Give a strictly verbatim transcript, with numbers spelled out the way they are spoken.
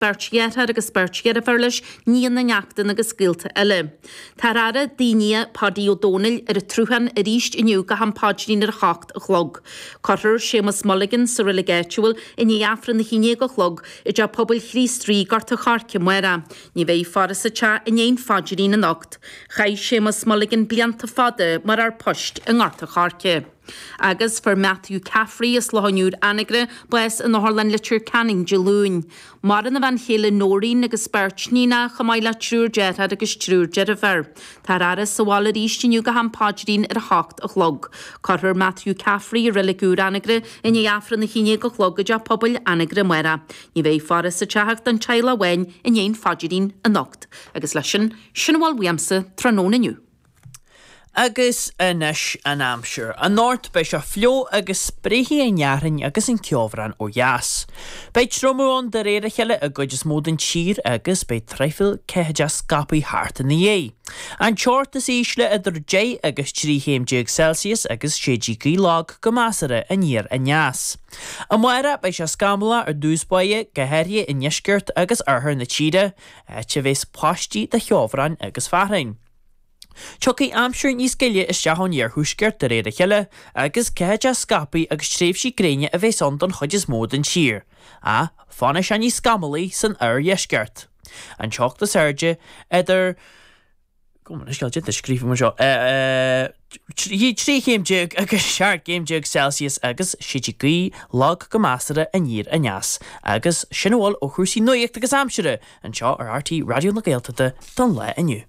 Beirt dheartháir agus beirt dheirféar leis, nianna, neachtanna agus gaolta eile. Táthar á fhaire dá nia Páidí Ó Dónaill ar an tSruthán arís inniu go ham paidrín ar a hocht a chlog. Cuirfear Séamus Mulligan sa reilig áitiúil i ndiaidh Aifreann a haon déag a chlog i dTeach Pobail Chríost Rí, Gort a' Choirce amárach. Ní bheidh faire sa teach i ndiaidh an phaidrín anocht. Chaith Séamus Mulligan blianta fada mar fhear poist i nGort a' Choirce. Agus fuair Matthew Caffrey as Loch an Iúir Anagaire bás in Otharlann Leitir Ceanainn Dé Luain. Maireann a bhean chéile Noreen agus beirt níonacha chomh maith le triúr deartháir agus triúr deirféar. Táthar á fhaire sa bhaile arís inniu go ham paidrín ar a hocht a chlog. Cuirfear Matthew Caffrey i reilig úr Anagaire i ndiaidh Aifreann a haon déag a chlog i dTeach Pobail Anagaire amárach. Ní bheidh faire sa teach ach don teaghlach amháin i ndiaidh an phaidrín anocht. Agus leis sin, sin a bhfuil uaimse tráthnóna inniu. Agus anois an aimsir. Anocht beidh sé fliuch agus spréifidh an fhearthainn agus an ceobhrán ó dheas. Beidh triomú ann de réir a chéile i gcuid is mó den tír agus beidh traidhfil ceathaideach scaipthe thart ina dhiaidh. An teocht is ísle idir deich agus trí chéim déag Celsius agus séidfidh gaoth lag go measartha aniar aneas. Amárach beidh sé scamallach ar dtús báire, go háirithe i ndeisceart agus oirthear na tíre, áit a bheas paistí de cheobhrán agus fearthainn. Tiocfaidh aimsir níos gile isteach ón iarthuaisceart de réir a chéile, agus ceathaideach scaipthe agus tréimhsí gréine a bheas ann don chuid is mó den tír, ach fanfaidh sé níos scamallaí san oirdheisceart. An teocht is airde idir Gabh mo leithscéal, déanta scríofa mar seo, trí chéim déag agus seacht gcéim déag Celsius agus séidfidh gaoth lag go measartha aniar aneas. Agus sin a bhfuil ó chúrsaí nuachta agus aimsire anseo ar RTÉ Raidió na Gaeltachta don lá inniu.